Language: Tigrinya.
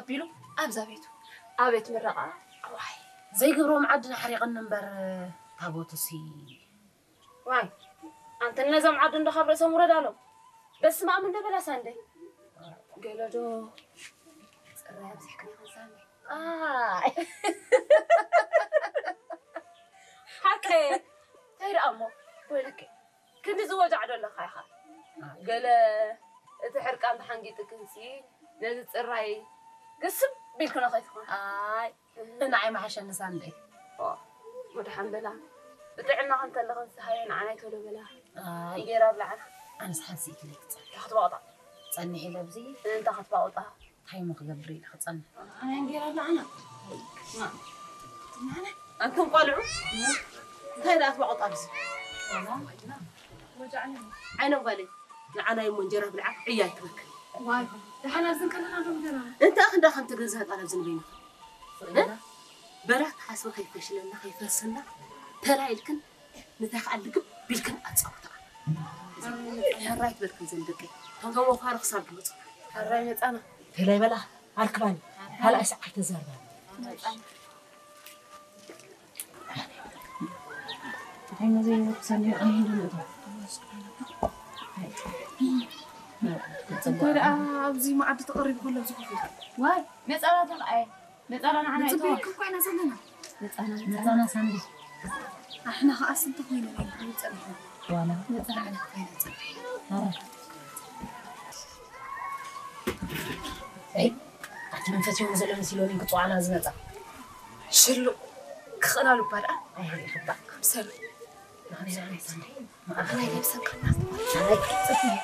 ቢሉ ኣብዛ ቤቱ ኣቤት ምረቓ። ዋይ ዘይገብሮ መዓድን ሓሪቕኒ እምበር ታቦትሲ። ዋይ ኣንተ ነዞም ዓዲ እንዶ ካብ ርእሶም ውረድ ኣሎም። በስመ ኣብ እንደ በላሳ እንደ ገለዶ ጽራይ ኣብዚሕክን ይኽንሳኒ። ኣይ ሓቀ እንታይ ደኣ እሞ ወይለከ ክንዲ ዝወጃዕ ዶ ኣለኻ ኢኻ። ገለ እቲ ሕርቃን ተሓንጊጥክንሲ ነዚ ጽራይ ግስብ ቢልክኖ ከይትኾን። ኣይ ንዓይ መሓሸኒ ሳንደይ። ኦ፣ መድሓን በላ። ብጥዕና ከም ተለኽን ዝሃየ ንዓናይ ቶሎ በላ። ኣይ እንጌራ ብላዕና። ኣነስ ሓንሲ ኢትለይ ክጸንሕ። እንታይ ክትባቕጣ? ጸኒሕ ኢለ ኣብዚ። እንታይ ክትባቕጣ? እንታይ እሞ ክገብር ኢለ ክጸንሕ? ኣይ እንጌራ ብላዕና። ማ? ኣንቱም ቆልዑ እንታይ ደኣ ትባቕጡ ኣብዚ? ዓይኖም ጓለይ ንዓናይ እሞ እንጀራ ብልዓ ዕያ ኣይትበክል። ዋይ ደሓን ኣብዚ ከለና ዶ እንጀራ? እንታይ ክንዳ ከም ትገዝኣ ጣል ኣብዚ ንበይና። በላ ተሓስበ ከይፈሽለና ከይፈርሰና ተራ ኢልክን ንታይ ከዓ ልግብ ቢልክን ኣጻውታ። ሕራይ ትበልክን ዘን ደቂ እቶም ተወፋሪ ክሳብ ድመጹ። ሕራይ መጻና። ተላይ በላ ኣርክባኒ ካልኣይ ሰዓት ተዛርባ። እንታይ መዘይ ወርክ ሰኒ ኣይ እንደ እቶ እንታይ ደኣ ኣብዚ መዓዲ ተቐሪቡ ከሎ ኣብዚ ኮፍ ኢልካ ዋይ ነጻናቶም ኣየ ነጻና ንዓና ይተወ ንጽበየኩም ኮይና ዘለና ነጻና ነጻና ሳንዲ ኣሕና ኸኣ ስንት ኮይና ኢና ንጸንሕ ዋላ ነጻና ኮይና ጸንሕ ኣይ ኣቲ መንፈስ ይሆን ዘሎ መሲሎኒ ክጽዋዕና ዝመጻ ሽሉ ክኽእላሉ እባ ደኣ ኣይሃለ ይኽባእ ምሰሉ ንኽንዛነ ሳንዲ ማእኸላይ ለብሰን ከናስ ኣይ ጽቡቅ